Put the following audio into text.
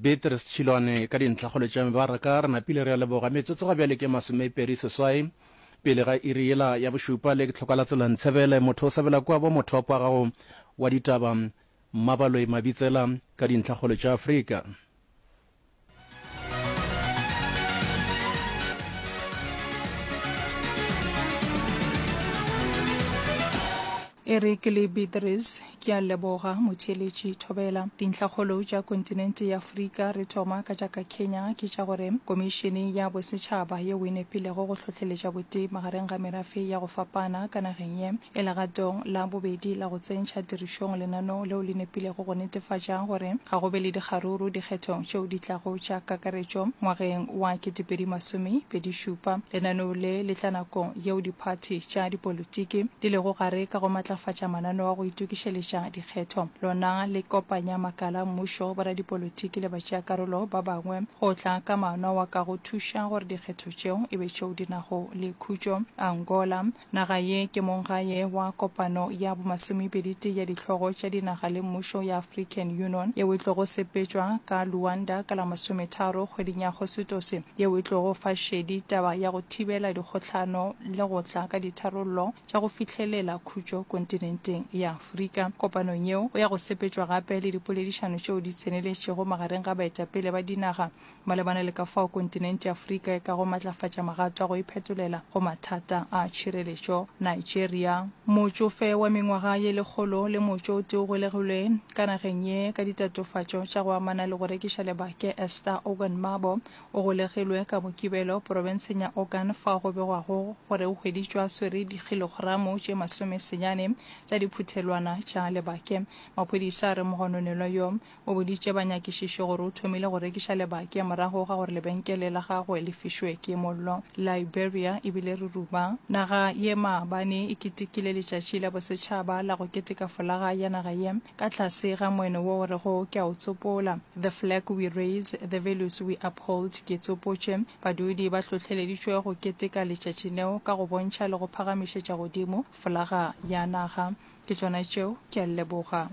Beatrice Tšhilwane ka dintlhakgolo tša mebaraka. Re napile re a leboga. Metsotso ga bjale ke masomepedi seswai pele ga iri yela ya bošupa. Le ke tlhoka la tsela Ntshebele, motho o sabela kua bo mothopo wa gago wa ditaba Mmabaloi Mabitsela ka dintlhakgolo tša Afrika. Eric le Beatrice, Ke a leboga, motheeletši Thobela. Dintlhakgolo tša kontinente ya Afrika, re thoma ka tša ka Kenya, ke tša gore Komišene ya Bosetšhaba yeo e nepilego go hlohleletša botee magareng ga merafe ya go fapana ka nageng ye e legatong la bobedi la go tsentšha tirišong lenaneo leo le nepilego go netefatša gore ga go be le dikgaruru dikgethong tšeo di tlago tša kakaretšo ngwageng wa 2027. Lenaneo le le tla nakong yeo diphathi tša dipolitiki di lego gare ka go matlafatša mananeo a go itokišeletša dikgetho. Lona le kopanya makala a mmušo, boradipolitiki le batšeakarolo ba bangwe go tla ka maano ao a kago thuša gore dikgetho tšeo e be tšeo di nago le khutšo. Angola, Naga ye ke monggae wa kopano ya bomasomepeditee ya dihlogo tša dinaga le mmušo ya African Union yeo e tlogo sepetšwa ka Luanda ka la masometharo kgweding ya Agositose yeo e tlogo fa šedi taba ya go thibela dikgohlano le go tla ka ditharollo tša go fihlelela khutšo kontinenteng ya Afrika. Kopanong yeo go ya go sepetšwa gape le dipoledišano tšeo di tseneletšego magareng ga baetapele ba dinaga Malebana le ka fao kontinente ya Afrika e kago matlafatša magato a go iphetolela go mathata a tšhireletšo, Nigeria. Motšofe wa mengwaga ye lekgolo le motšo o tee o golegilwe ka nageng ye ka ditatofatšo tša go amana le go rekiša lebake Esther Ogan Mabo o golegilwe ka Mokibelo porobenseng ya Ogun fao go begwago gore o hweditšwe a swere dikhilogramo tše masomesenyane tša diphuthelwana tša lebake. Maphodisa a re mogononelwa yo O boditše banyakišiši gore o thomile go rekiša lebake morago ga gore lebenkele la gagwe le fišwe ke mollo. Liberia e bile ruruma. Naga ye maabane e ketekile letšatši la bosetšhaba la go keteka folaga ya naga ye ka tlase ga moeno wo o rego Ke a o tsopola, The flag we raise, the values we uphold, Ke tsopotše. Badudi ba hlohleleditšwe go keteka letšatši leo ka go bontšha le go phagamišetša godimo folaga ya naga. Ke tšona tšeo, ke a leboga.